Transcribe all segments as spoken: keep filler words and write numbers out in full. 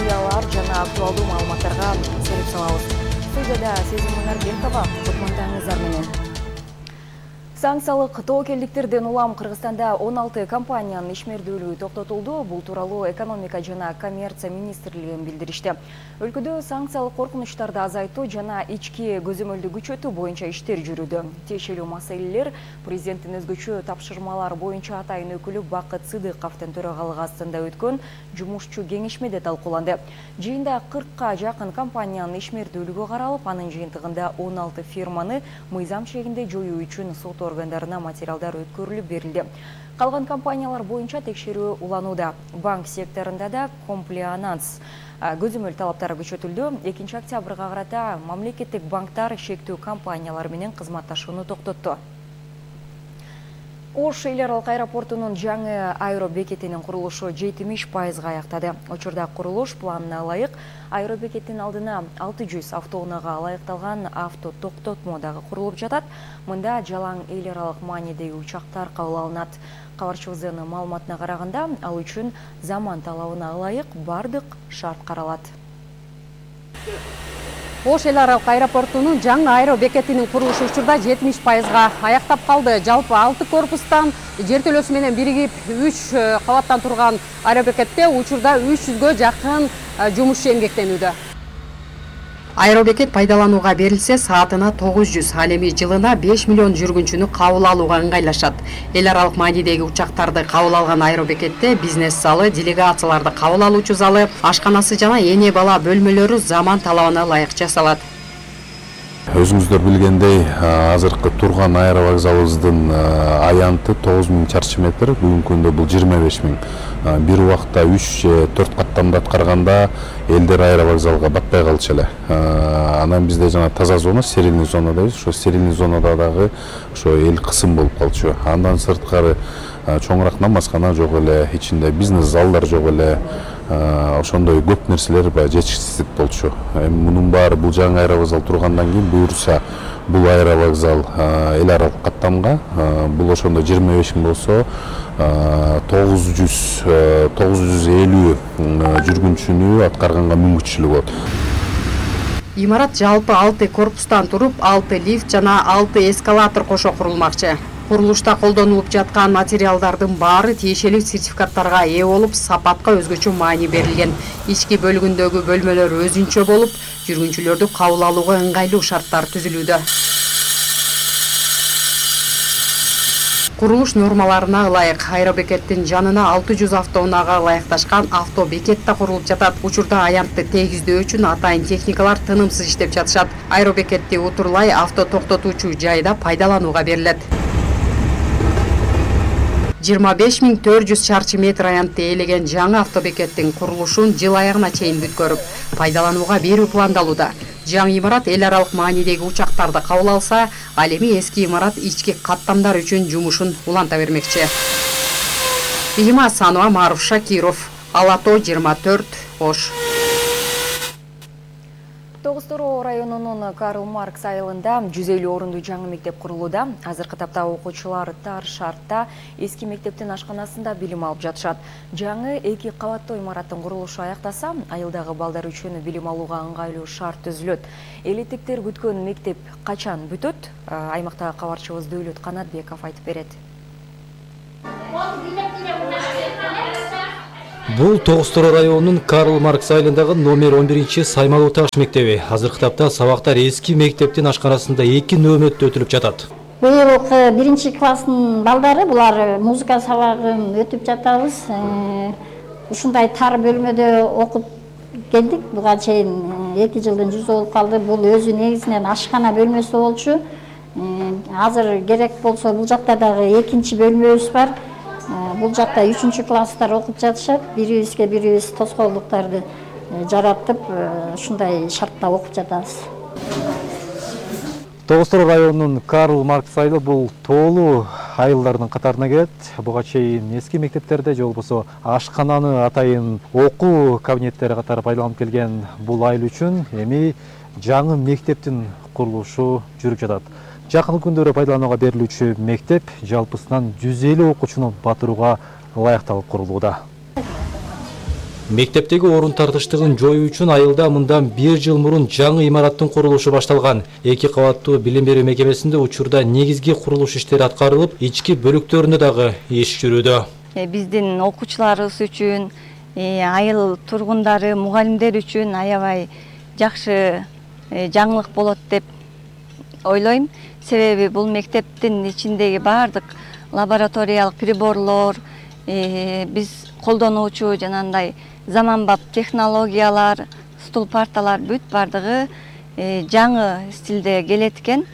окуялар жана актуалдуу маалыматтарга сереп салабыз. Студияда Сезим Мунарбекова, кутмандаңыздар менен. Санкциялык тобокелдиктерден улам Кыргызстанда он алты компаниянын ишмердүүлүгү токтотулду. Бул тууралуу экономика жана коммерция министрлиги билдиришти. Өлкөдө санкциялык коркунучтарды азайтуу жана ички көзөмөлдү күчөтүү боюнча иштер жүрүүдө. Тиешелүү маселелер президенттин өзгөчө тапшырмалар боюнча атайын өкүлү Бакыт Сыдыковдун төрагалыгы астында өткөн жумушчу кеңешмеде талкууланды. Жыйында кыркка жакын компаниянын ишмердүүлүгү каралып, анын жыйынтыгында он алты фирманы мыйзам чегинде жоюу үчүн сот органдарына материалдар өткөрүлүп берилди. Калган компаниялар боюнча текшерүү уланууда. Банк секторунда да комплианс көзөмөл талаптары күчөтүлдү. экинчи октябрга карата мамлекеттик банктар шектүү компаниялар менен кызматташууну токтотту. Ош эл аралык аэропортунун жаңы аэробекетинин курулушу жетимиш пайызга аяктады. Учурда курулуш планына ылайык аэробекеттин алдына алты жүз автоунаага ылайыкталган авто токтотмо дагы курулуп жатат. Мында жалаң эл аралык маанидеги учактар кабыл алынат. Кабарчыбыздын маалыматына караганда, ал үчүн заман талабына ылайык бардык шарт каралат. Ош эл аралык аэропортунун жаңы аэробекетинин курулушу учурда жетимиш пайызга аяктап калды. Жалпы алты корпустан жертөлөсү менен биригип үч кабаттан турган аэробекетте учурда үч жүзгө жакын жумушчу эмгектенүүдө. Аэробекет пайдаланууга берилсе, саатына тогуз жүз, ал эми жылына беш миллион жүргүнчүнү кабыл алууга ыңгайлашат. Эл аралык маанидеги учактарды кабыл алган аэробекетте бизнес залы, делегацияларды кабыл алуучу залы, ашканасы жана эне бала бөлмөлөрү заман талабына ылайык жасалат. Өзүңүздөр билгендей, азыркы турган аэровокзалыбыздын аянты тогуз миң чарчы метр, бүгүнкү күндө бул жыйырма беш миң. Бир убакта үч же төрт каттамды аткарганда элдер аэровокзалга батпай калчу эле. Анан бизде жана таза зона, стерильный зона дейбиз. Ошо стерильный зонада дагы ошо эл кысым болуп калчу. Андан сырткары чоңураак намазкана жок эле, ичинде бизнес залдар жок эле. Ошондой көп нерселер баягы жетишсиздик болчу. Эми мунун баары бул жаңы аэровокзал тургандан кийин буюрса, бул аэровокзал эл аралык каттамга, бул ошондо жыйырма беш миң болсо, тогуз жүз элүү жүргүнчүнү аткарганга мүмкүнчүлүгү болот. Имарат жалпы алты корпустан туруп, алты лифт жана алты эскалатор кошо курулмакчы. Курулушта колдонулуп жаткан материалдардын баары тиешелүү сертификаттарга ээ болуп, сапатка өзгөчө маани берилген. Ички бөлүгүндөгү бөлмөлөр өзүнчө болуп, жүргүнчүлөрдү кабыл алууга ыңгайлуу шарттар түзүлүүдө. Курулуш нормаларына ылайык аэробекеттин жанына алты жүз автоунаага ылайыкташкан автобекет да курулуп жатат. Учурда аянтты тегиздөө үчүн атайын техникалар тынымсыз иштеп жатышат. Аэробекетти утурлай авто токтотуучу жайда пайдаланууга берилет. жыйырма беш миң төрт жүз чарчы метр аянтты ээлеген жаңы автобекеттин курулушун жыл аягына чейин бүткөрүп, пайдаланууга берүү пландалууда. Жаңы имарат эл аралык маанидеги учактарды кабыл алса, ал эми эски имарат ички каттамдар үчүн жумушун уланта бермекчи. Бийима Санова, Маруф Шакиров, Алато жыйырма төрт, Ош. Тогуз-Тороо районунун Карл Маркс айылында жүз элүү орунду жаңы мектеп курулууда. Азыркы тапта окуучулар тар шартта эски мектептин ашканасында билим алып жатышат. Жаңы эки кабаттуу имараттын курулушу аяктаса, айылдагы балдар үчүн билим алууга ыңгайлуу шарт түзүлөт. Элиттиктер күткөн мектеп качан бүтөт? Аймактагы кабарчыбыз Дөөлөт Канатбеков айтып берет. Бул Тогуз-Тороо районунун Карл Маркс айылындагы номер он биринчи саймалуу таш мектеби. Азыркы тапта сабактар эски мектептин ашканасында эки нөөмөттө өтүлүп жатат. Быйыл биринчи класстын балдары булар музыка сабагын өтүп жатабыз. Ушундай тар бөлмөдө окуп келдик. Буга чейин эки жылдын жүзү болуп калды. Бул өзү негизинен ашкана бөлмөсү болчу. Азыр керек болсо бул жакта дагы экинчи бөлмөбүз бар. Бул жакта үчүнчү класстар окуп жатышат. Бирибизге бирибиз тоскоолдуктарды жаратып, ушундай шартта окуп жатабыз. Тогуз-Тороо районунун Карл Маркс айылы бул тоолуу айылдардын катарына кирет. Буга чейин эски мектептерде же болбосо ашкананы атайын окуу кабинеттери катары пайдаланып келген бул айыл үчүн эми жаңы мектептин курулушу жүрүп жатат. Жакын күндөрү пайдаланууга берилүүчү мектеп жалпысынан жүз элүү окуучуну батырууга ылайыкталып курулууда. Мектептеги орун тартыштыгын жоюу үчүн айылда мындан бир жыл мурун жаңы имараттын курулушу башталган. Эки кабаттуу билим берүү мекемесинде учурда негизги курулуш иштери аткарылып, ички бөлүктөрүндө дагы иш жүрүүдө. Биздин окуучуларыбыз үчүн, айыл тургундары, мугалимдер үчүн аябай жакшы жаңылык болот деп ойлойм. Себеби бул мектептин ичиндеги баардык лабораториялык приборлор, биз колдонуучу жанагындай заманбап технологиялар, стул парталар бүт бардыгы жаңы стилде келет экен.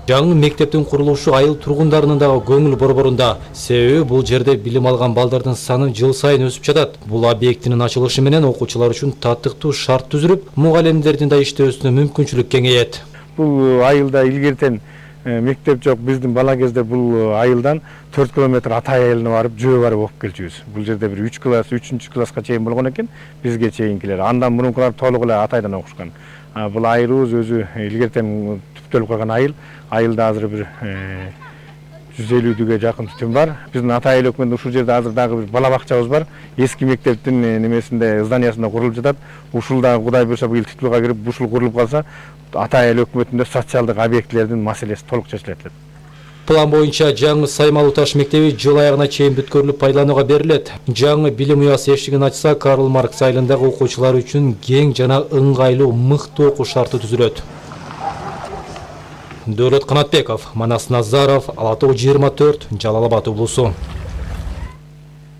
Жаңы мектептин курулушу айыл тургундарынын дагы көңүл борборунда. Себеби бул жерде билим алган балдардын саны жыл сайын өсүп жатат. Бул объекттин ачылышы менен окуучулар үчүн татыктуу шарт түзүлүп, мугалимдердин да иштөөсүнө мүмкүнчүлүк кеңейет. Бул айылда илгертен мектеп жок. Биздин бала кезде бул айылдан төрт километр Атай айылына барып, жөө барып окуп келчүбүз. Бул жерде бир үч класс, үчүнчү класска чейин болгон экен, бизге чейинкилер. Андан мурункулар толук эле Атайдан окушкан. Бул айылыбыз өзү илгертен түптөлүп калган айыл. Айылда азыр бир жүз элүүгө жакын түтүн бар. Биздин Атай айыл өкмөтүндө ушул жерде азыр дагы бир бала бакчабыз бар. Эски мектептин немесинде, зданиясында курулуп жатат. Ушул да Кудай буйрса быйыл титулга кирип, ушул курулуп калса, Атай айыл өкмөтүндө социалдык объектилердин маселеси толук чечилет. План боюнча жаңы Саймалуу таш мектеби жыл аягына чейин бүткөрүлүп пайдаланууга берилет. Жаңы билим уясы эшигин ачса, Карл Маркс айылындагы окуучулар үчүн кең жана ыңгайлуу мыкты окуу шарты түзүлөт. Дөөлөт Канатбеков, Манас Назаров, Ала Тоо жыйырма төрт, Жалал Абад облусу.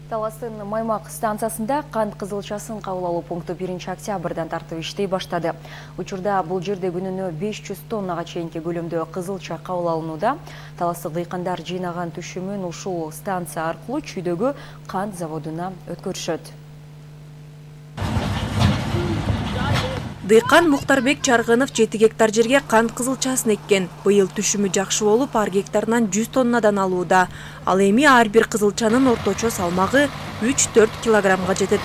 Таластын Маймак станциясында кант кызылчасын кабыл алуу пункту биринчи октябрдан тартып иштей баштады. Учурда бул жерде күнүнө беш жүз тоннага чейинки көлөмдө кызылча кабыл алынууда. Таластык дыйкандар жыйнаган түшүмүн ушул станция аркылуу чүйдөгү кант заводуна өткөрүшөт. Дыйкан Муктарбек Чаргынов жети гектар жерге кант кызылчасын эккен. Быйыл түшүмү жакшы болуп, ар гектарынан жүз тоннадан алууда. Ал эми ар бир кызылчанын орточо салмагы үч төрт килограммга жетет.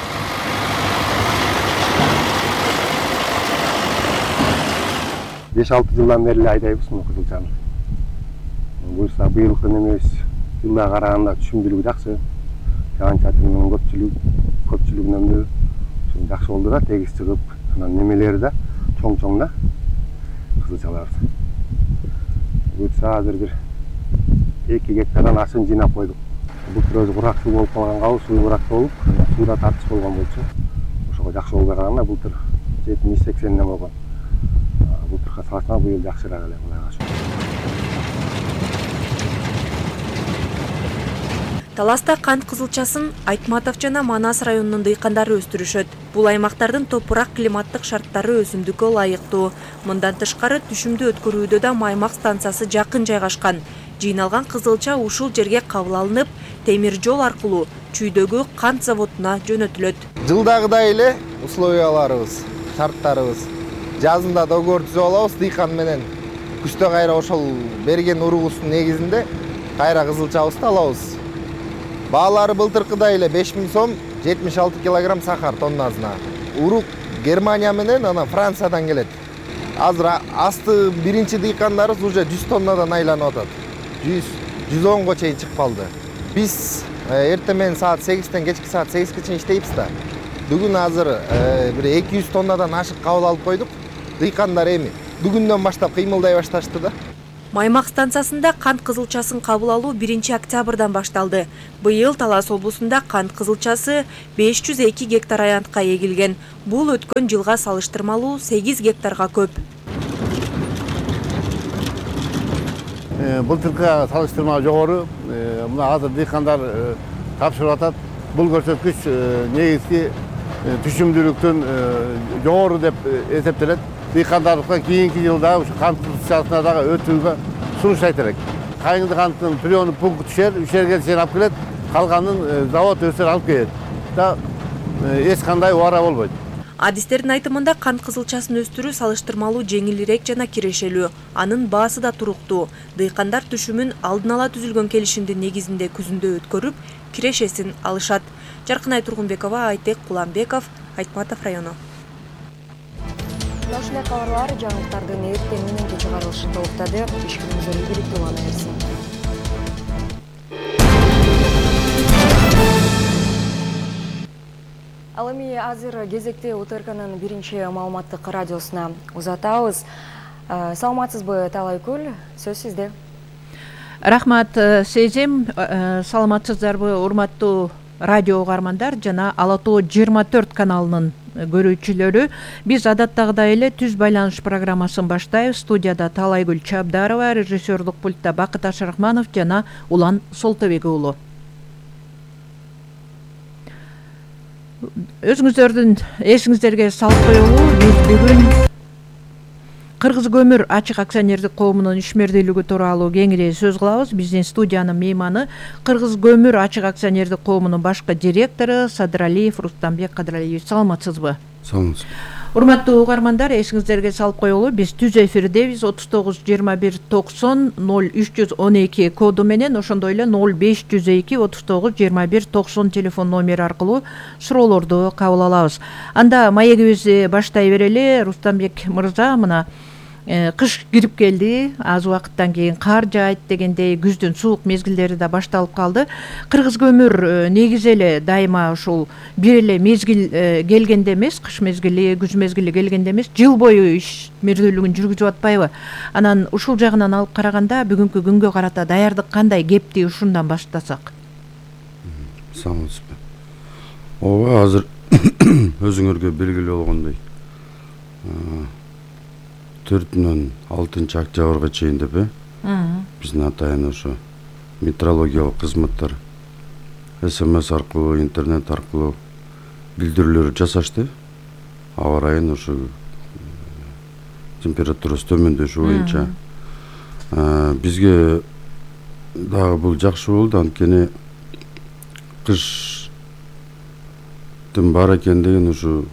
беш алты жылдан бери айдайбыз мына кызылчаны. Буюрса быйылкы немебиз жылга караганда түшүмдүүлүгү жакшы. Жаан-чачындын көпчүлүгү көпчүлүгүнөн да жакшы болду да, тегиз чыгып, анан немелери да чоң-чоң да кызылчалар. Буюрса азыр бир эки гектардан ашын жыйнап койдук. Былтыр өзү курак суу болуп калганга, суу курак болуп, сууда тартыш болгон болчу. Ошого жакшы болбой калганда былтыр жетимиш сексенден болгон. Былтырга салышканда быйыл жакшыраак эле Кудайга шүгүр. Таласта кант кызылчасын Айтматов жана Манас районунун дыйкандары өстүрүшөт. Бул аймактардын топурак климаттык шарттары өсүмдүккө ылайыктуу. Мындан тышкары түшүмдү өткөрүүдө да Маймак станциясы жакын жайгашкан. Жыйналган кызылча ушул жерге кабыл алынып, темир жол аркылуу чүйдөгү кант заводуна жөнөтүлөт. Жылдагыдай эле условияларыбыз, шарттарыбыз жазында договор түзүп алабыз дыйкан менен. Күздө кайра ошол берген уругубуздун негизинде кайра кызылчабызды алабыз. Баалары былтыркыдай эле беш миң сом, жетимиш алты килограмм сахар тоннасына. Урук Германия менен анан Франциядан келет. Азыр асты биринчи дыйкандарыбыз уже жүз тоннадан айланып атат. жүз жүз онго чейин чыгып калды. Биз эртең менен саат сегизден кечки саат сегизге чейин иштейбиз да. Бүгүн азыр бир эки жүз тоннадан ашык кабыл алып койдук. Дыйкандар эми бүгүндөн баштап кыймылдай башташты да. Маймак станциясында кант кызылчасын кабыл алуу биринчи октябрдан башталды. Быйыл Талас облусунда кант кызылчасы беш жүз эки гектар аянтка эгилген. Бул өткөн жылга салыштырмалуу сегиз гектарга көп. Былтыркыга салыштырмалуу жогору. Мына азыр дыйкандар тапшырып атат. Бул көрсөткүч негизги түшүмдүүлүктүн жогору деп эсептелет. Дыйкандардыкка кийинки жылда ушу кант кызылчасына дагы өтүүгө сунуш айта элек. Кайыңды канттын приёмный пункт түшөр, үч жерге чейин алып келет, калганын завод өсөр алып келет. Да эч кандай убара болбойт. Адистердин айтымында кант кызылчасын өстүрүү салыштырмалуу жеңилирээк жана кирешелүү. Анын баасы да туруктуу. Дыйкандар түшүмүн алдын ала түзүлгөн келишимдин негизинде күзүндө өткөрүп, кирешесин алышат. Жаркынай Тургунбекова, Айтек Куламбеков, Айтматов району. Ушундай кабарлар жаңылыктардын эртең мененки чыгарылышында уктады. Ишкеріңіздер ийгиликтүү боло берсин. Ал эми азыр кезекте УТРКнын биринчи маалыматтык радиосуна узатабыз. Саламатсызбы, Талайкүл? Сөз сизде. Рахмат, Сезим. Саламатсыздарбы, урматтуу радио угармандар жана Ала Тоо жыйырма төрт каналынын көрүүчүлөрү. Биз адаттагыдай эле түз байланыш программасын баштайбыз. Студияда Талайгүл Чабдарова, режиссерлук пультта Бакыт Ашырахманов жана Улан Солтобек уулу. Өзүңүздөрдүн эсиңиздерге салып коелу, биз бүгүн Кыргыз көмүр ачык акционердик коомунун ишмердүүлүгү тууралуу кеңири сөз кылабыз. Биздин студиянын мейманы Кыргыз көмүр ачык акционердик коомунун башкы директору Садыралиев Рустамбек Кадыралиевич. Саламатсызбы? Саламатсыз. Урматтуу угармандар, эсиңиздерге салып коелу, биз түз эфирдебиз. отуз тогуз жыйырма бир токсон ноль үч жүз он эки коду менен, ошондой эле ноль беш жүз эки отуз тогуз жыйырма бир токсон телефон номери аркылуу суроолорду кабыл алабыз. Анда маегибизди баштай берели. Рустамбек мырза, мына кыш кирип келди, аз убакыттан кийин кар жаайт дегендей, күздүн суук мезгилдери да башталып калды. Кыргыз көмүр негизи эле дайыма ушул бир эле мезгил келгенде эмес, кыш мезгили, күз мезгили келгенде эмес, жыл бою ишмердүүлүгүн жүргүзүп атпайбы? Анан ушул жагынан алып караганда бүгүнкү күнгө карата даярдык кандай? Кепти ушундан баштасак. Саламатсызбы. Ооба, азыр өзүңөргө белгилүү болгондой төртүнөн алтынчы октябрга чейин деп э биздин атайын ошо метеорологиялык кызматтар СМС аркылуу, интернет аркылуу билдирүүлөр жасашты. Аба ырайын ошо температурасы төмөндөшү боюнча бизге дагы бул жакшы болду, анткени кыштын бар экен деген ушу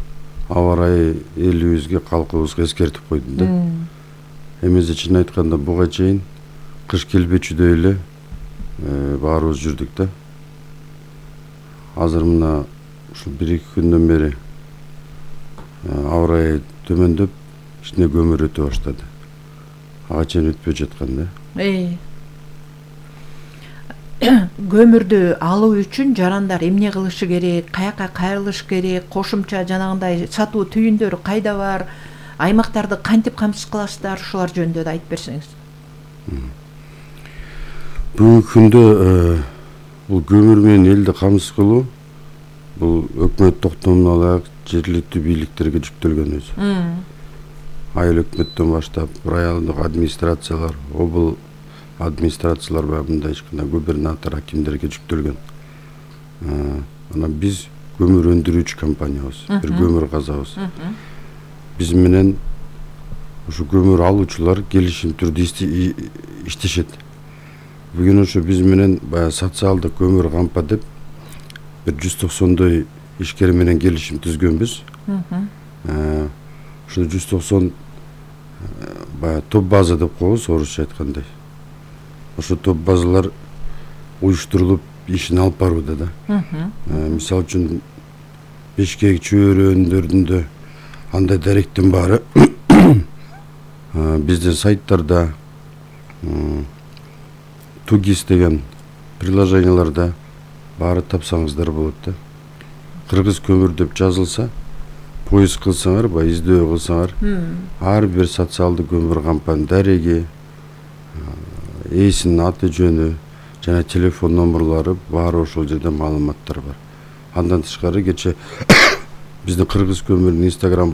аба ырайы элибизге, калкыбызга эскертип койду да. Эмесе чын айтканда буга чейин кыш келбечүдөй эле баарыбыз жүрдүк да. Азыр мына ушул бир эки күндөн бери аба ырайы төмөндөп, кичине көмүр өтө баштады. Ага чейин өтпөй жаткан да. Көмүрдү алуу үчүн жарандар эмне кылышы керек, каяка кайрылыш керек, кошумча жанагындай сатуу түйүндөрү кайда бар, аймактарды кантип камсыз кыласыздар, ушулар жөнүндө да айтып берсеңиз. Бүгүнкү күндө бул көмүр менен элди камсыз кылуу бул өкмөт токтомун алак жергиликтүү бийликтерге жүктөлгөн өзү. Айыл өкмөттөн баштап райондук администрациялар, обул администрациялар бар, мындай ичкана губернатор, акимдерге жүктөлгөн. Анан биз көмүр өндүрүүчү компаниябыз, бир көмүр казабыз. Биз менен ушу көмүр алуучулар келишим түрдө иштешет. Бүгүн ошо биз менен баягы социалдык көмүр кампа деп бир жүз токсондой ишкер менен келишим түзгөнбүз. Ошо жүз токсон баягы топ база деп коебуз, орусча айткандай. Ошо топ базалар уюштурулуп ишин алып барууда да. Мисалы үчүн Бишкек чөйрөндөрүндө андай даректин баары биздин сайттарда, Тугис деген приложенияларда баары тапсаңыздар болот да. Кыргыз көмүр деп жазылса, поиск кылсаңар, баягы издөө кылсаңар, ар бир социалдык көмүр кампанын дареги, ээсинин аты жөнү жана телефон номерлары баары ошол жерде маалыматтар бар. Андан тышкары кече биздин Кыргыз көмүрүнүн Instagram